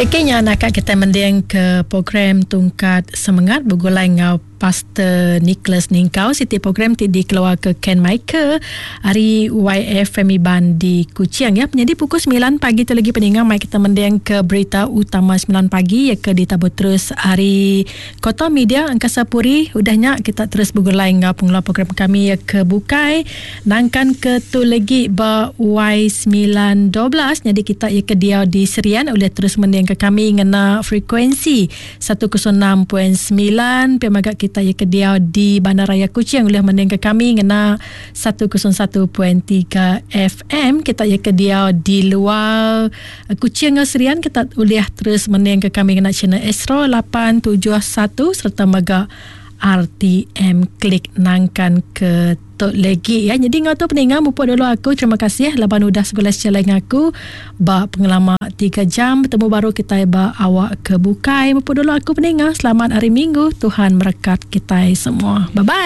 Eki nya naka kitai mending ke program Tungkat Semengat begulai enggau Pastor Nicholas Ningkau siti program ti dikeluarka Ken Michael ari YFM Iban di Kuching ya. Penyadi pukul 9 pagi tu lagi peninga mai kita mending ke berita utama 9 pagi ya ke ditabur terus ari Kota Media Angkasa Puri. Udah nya kita terus begulai enggau pengeluar program kami ya ke bukai nangkan ke tu lagi ba Y912 nyadi kita ya ke diau di Serian ulih terus mending ke kami ngena frekuensi 106.9 pia mega kita iya ke diau di Bandaraya Kuching ulih mendingka kami ngena 101.3 FM kita iya ke diau di luar Kuching enggau Serian kita ulih terus mendingka kami ngena channel Astro 871 sereta mega RTM Klik nangkan ke tu legi ya. Jadi enggau tu peninga mupuk dulu aku. Terima kasih laban udah segulai sejalai enggau aku ba pengelama 3 jam. Betemu baru kitai ba awak ke bukai. Mupuk dulu aku peninga. Selamat hari Minggu. Tuhan merekat kitai semua. Bye bye.